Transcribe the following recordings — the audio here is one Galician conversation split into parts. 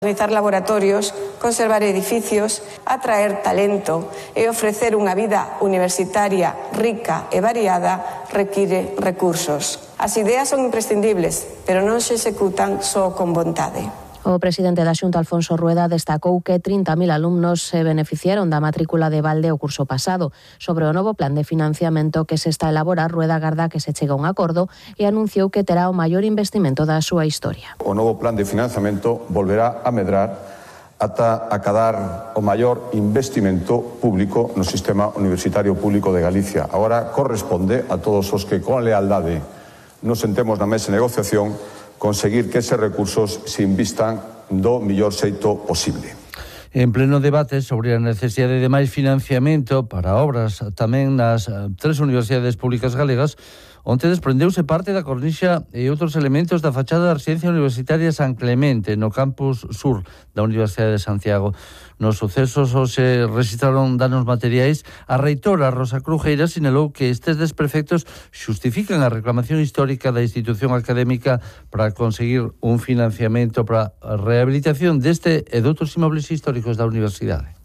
Realizar laboratorios, conservar edificios, atraer talento e ofrecer unha vida universitaria rica e variada require recursos. As ideas son imprescindibles, pero non se executan só con vontade. O presidente da Xunta, Alfonso Rueda, destacou que 30.000 alumnos se beneficiaron da matrícula de balde o curso pasado. Sobre o novo plan de financiamento que se está a elaborar, Rueda agarda que se chegue a un acordo e anunciou que terá o maior investimento da súa historia. O novo plan de financiamento volverá a medrar ata acadar o maior investimento público no sistema universitario público de Galicia. Agora corresponde a todos os que con lealdade nos sentemos na mesa de negociación conseguir que eses recursos se invistan do mellor xeito posible. En pleno debate sobre a necesidade de máis financiamento para obras tamén nas 3 universidades públicas galegas, onte desprendeuse parte da cornixa e outros elementos da fachada da residencia universitaria San Clemente no campus sur da Universidade de Santiago. Nos sucesos se registraron danos materiais. A reitora Rosa Crujeira sinalou que estes desprefectos xustifican a reclamación histórica da institución académica para conseguir un financiamento para a rehabilitación deste e de outros inmobles históricos da universidade.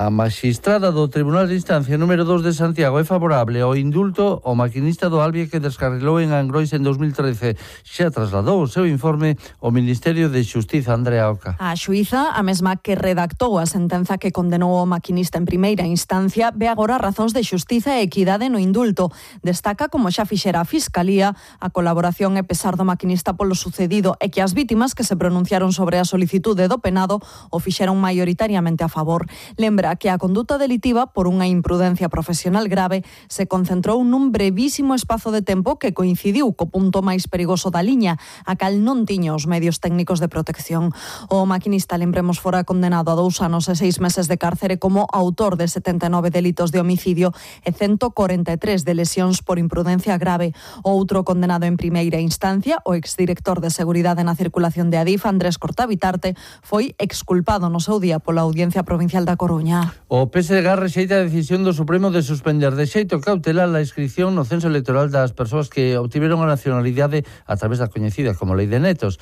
A magistrada do Tribunal de Instancia número 2 de Santiago é favorable ao indulto ao maquinista do Albia que descarrilou en Angrois en 2013. Xa trasladou o seu informe ao Ministerio de Xustiza. Andrea Oca. A xuíza, a mesma que redactou a sentenza que condenou o maquinista en primeira instancia, ve agora razóns de xustiza e equidade no indulto. Destaca, como xa fixera a Fiscalía, a colaboración e pesar do maquinista polo sucedido e que as vítimas que se pronunciaron sobre a solicitude do penado o fixeron maioritariamente a favor. Lembra que a conduta delitiva por unha imprudencia profesional grave se concentrou nun brevísimo espazo de tempo que coincidiu co punto máis perigoso da liña, a cal non tiña os medios técnicos de protección. O maquinista, lembremos, fora condenado a 2 anos e 6 meses de cárcere como autor de 79 delitos de homicidio e 143 de lesións por imprudencia grave. O outro condenado en primeira instancia, o exdirector de Seguridade na Circulación de Adif, Andrés Cortabitarte, foi exculpado no seu día pola Audiencia Provincial da Coruña. O PSDG rexeita a decisión do Supremo de suspender de xeito cautelar a inscripción no censo electoral das persoas que obtiveron a nacionalidade a través da coñecida como Lei de Netos.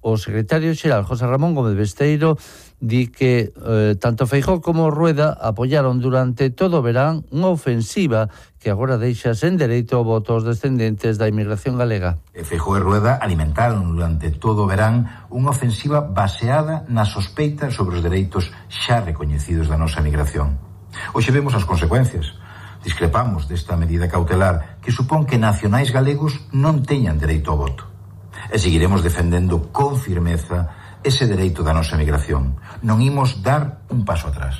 O secretario xeral José Ramón Gómez Besteiro di que tanto Feijóo como Rueda apoiaron durante todo o verán unha ofensiva que agora deixa sen dereito ao voto aos descendentes da inmigración galega. Feijóo e Rueda alimentaron durante todo o verán unha ofensiva baseada na sospeita sobre os dereitos xa recoñecidos da nosa migración. Hoxe vemos as consecuencias. Discrepamos desta medida cautelar que supón que nacionais galegos non teñan dereito ao voto. E seguiremos defendendo con firmeza ese dereito da nosa migración. Non imos dar un paso atrás.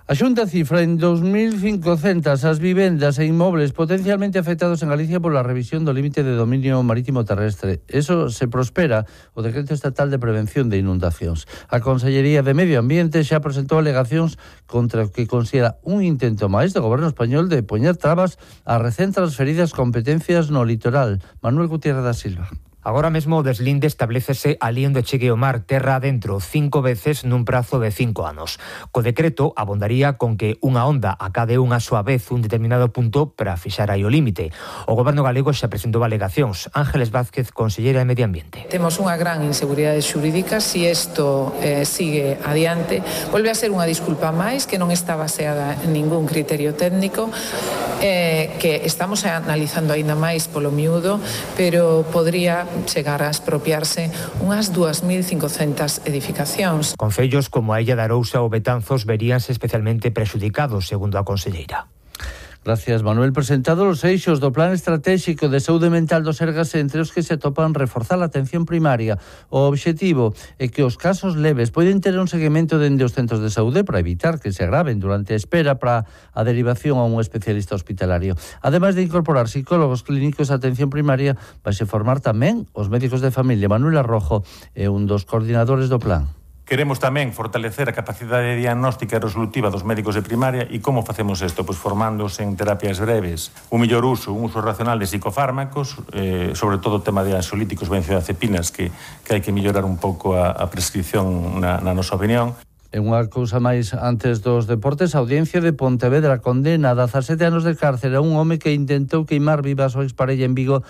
A Xunta cifra en 2.500 as vivendas e inmobles potencialmente afectados en Galicia pola revisión do límite de dominio marítimo terrestre. Eso se prospera o Decreto Estatal de Prevención de Inundacións. A Consellería de Medio Ambiente xa presentou alegacións contra o que considera un intento máis do Goberno español de poñer trabas ás recén transferidas competencias no litoral. Manuel Gutiérrez da Silva. Agora mesmo o deslinde establécese alí onde chegue o mar terra adentro 5 veces nun prazo de 5 anos. Co decreto abondaría con que unha onda acade unha súa vez un determinado punto para fixar aí o límite. O Goberno galego xa presentou alegacións. Ángeles Vázquez, conselleira de Medio Ambiente. Temos unha gran inseguridade xurídica. Si isto sigue adiante, volve a ser unha disculpa máis que non está baseada en ningún criterio técnico, que estamos analizando aínda máis polo miúdo, pero podría chegar a expropiarse unhas 2.500 edificacións. Concellos como a Illa de Arousa ou Betanzos veríanse especialmente prexudicados, segundo a conselleira. Gracias, Manuel. Presentado os eixos do Plan Estratégico de Saúde Mental do Sergas, entre os que se topan reforzar a atención primaria. O obxectivo é que os casos leves poden ter un seguimento dende os centros de saúde para evitar que se agraven durante a espera para a derivación a un especialista hospitalario. Ademais de incorporar psicólogos clínicos a atención primaria, vai se formar tamén os médicos de familia. Manuel Arrojo é un dos coordinadores do plan. Queremos tamén fortalecer a capacidade diagnóstica e resolutiva dos médicos de primaria. E como facemos isto? Pois formándose en terapias breves, un mellor uso racional de psicofármacos, sobre todo o tema de ansiolíticos, benzodiazepinas, que hai que mellorar un pouco a prescripción na nosa opinión. E unha cousa máis antes dos deportes, a Audiencia de Pontevedra condena a 17 anos de cárcere a un home que intentou queimar viva a súa exparella en Vigo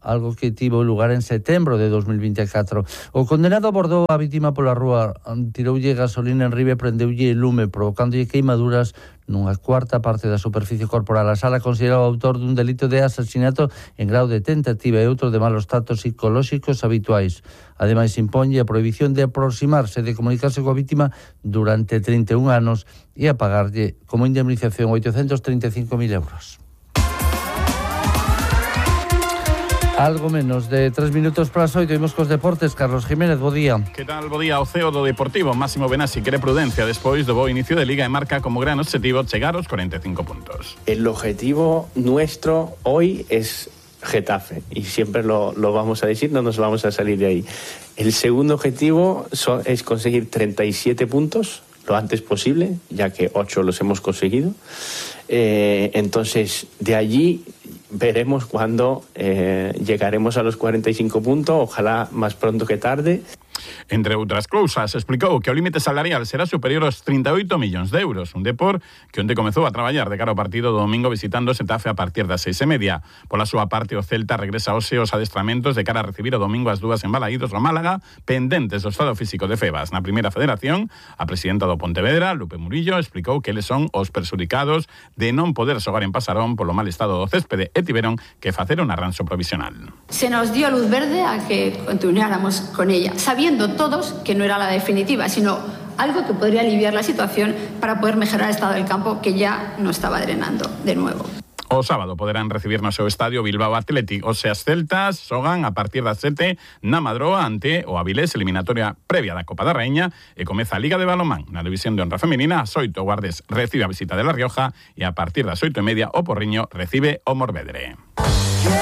algo que tivo lugar en setembro de 2024. O condenado abordou a vítima pola rúa, tiroulle gasolina en ribe e prendeulle lume, provocándolle queimaduras nunha cuarta parte da superficie corporal. A sala considera o autor dun delito de asasinato en grau de tentativa e outro de malos tratos psicolóxicos habituais. Ademais, imponlle a prohibición de aproximarse, de comunicarse coa vítima durante 31 anos e a pagarlle como indemnización 835.000 euros. Algo menos de 3 minutos para as 8, imos cos deportes. Carlos Jiménez, bo día. Que tal, bo día? O CEO do Deportivo, Máximo Benassi, quere prudencia despois do bo inicio de Liga e marca como gran objetivo chegar aos 45 puntos. El objetivo nuestro hoy es Getafe y siempre lo vamos a decir, no nos vamos a salir de ahí. El segundo objetivo es conseguir 37 puntos lo antes posible, ya que 8 los hemos conseguido. Entonces, de allí veremos cuándo llegaremos a los 45 puntos, ojalá más pronto que tarde. Entre outras cousas, explicou que o límite salarial será superior aos 38 millóns de euros, un Depor que onte comezou a traballar de cara ao partido do domingo visitando Xetafe a partir das 6:30. Pola súa parte, o Celta regresa hoxe aos adestramentos de cara a recibir o domingo as 2 en Balaídos o Málaga, pendentes do estado físico de Febas. Na primeira federación, a presidenta do Pontevedra, Lupe Murillo, explicou que eles son os perxudicados de non poder xogar en Pasarón polo mal estado do céspede e tiveron que facer un arranxo provisional. Se nos dio luz verde a que continuáramos con ella, sabiendo todos que no era la definitiva, sino algo que podría aliviar la situación para poder mejorar el estado del campo que ya no estaba drenando de nuevo. O sábado poderán recibir no seu estadio Bilbao Athletic. Os seas celtas xogan a partir das 7 na Madroa ante o Avilés, eliminatoria previa da Copa da Raíña, e comeza a Liga de Balonmán. Na división de honra femenina, as 8 Guardes recibe a visita de La Rioja e a partir das 8:30 o Porriño recibe o Morvedre.